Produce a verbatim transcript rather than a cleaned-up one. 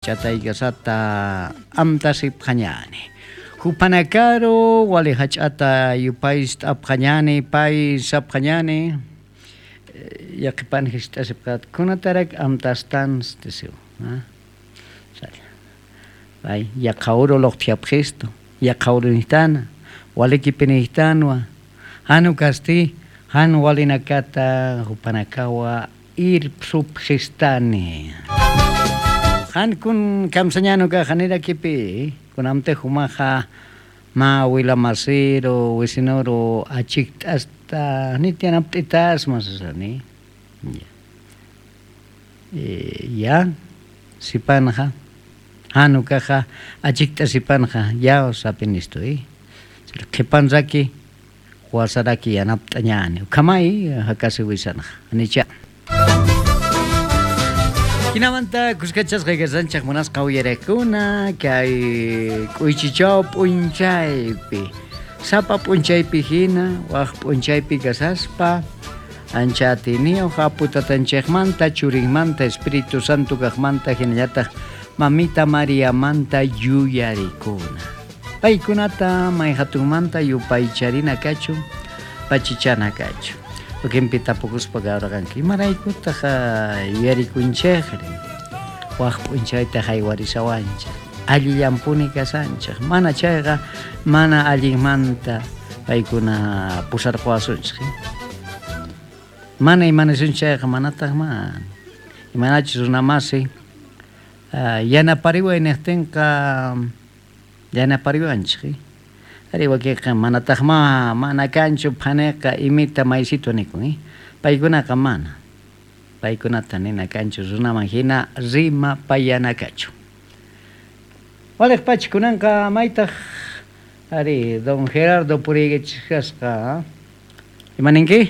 Yataykasata amtasipxañäni. Juphanakaru wali jach'ata yupayt'apxañäni, pay sapxañäni, eh, yaqhipan jist'asipxat, kunatarak amtastansti siw, ¿ah? Salla. Pay, yaqha uru luqtjapxistu, yaqha urunïjtana, walikipinïjtanwa, jan ukasti, jan walinakata juphanakawa irpsupxistani. Jan kun kamsañäni ukaxa, janirakipï, kunamtix jumaxa mä wilamasiru, wisinuru achikt'asta, janit yanapt'itasma sasani. Ya. Eh, ya, sipanxa, jan ukaxa, achikt'asipanxa, ya sapinistu, ¿eh? Qhipanraki, wasaraki yanapt'añäni. Ukhamay, jakasiwisanxa. Janicha. Jinamanta kuskachasqa kasanchik munasqa uyariqkuna, kay k'uychichaw p'unchaypi, sapa p'unchaypi jina, wak p'unchaypi kasaspa, ancha atiyniw, Apu Tatanchikmanta, Churinmanta, Espíritu Santo kaqmanta, jinallataq Mamita Mariamanta yuyarikuna. Paykunata mayjatunmanta yupaycharina kachun, pachichana kachun. Ukimpi tapukuspa kawraqanki, imaraykutaq, ah, yuyarikunchikri, wak p'unchayta jaywarisawanchik, allillampuni kasanchik, mana chayqa, mana allinmanta paykuna pusarquwasunchik. Mana imanisunchik chayqa, manataqman. Imanachus runamasi, ah, yanapariway niqtinqa, yanapariwanchik. Ari, wakiqa manataqma, mana kanchu phaniqa, imita maysitwa nikun, ¿eh? Paykunaqa mana. Paykunata nina kanchu runaman jina rimapayana kachun. Waliqpach kunanqa maytaq, ari, don Gerardo puriykichik kasqa, ¿ah? Ima ninki?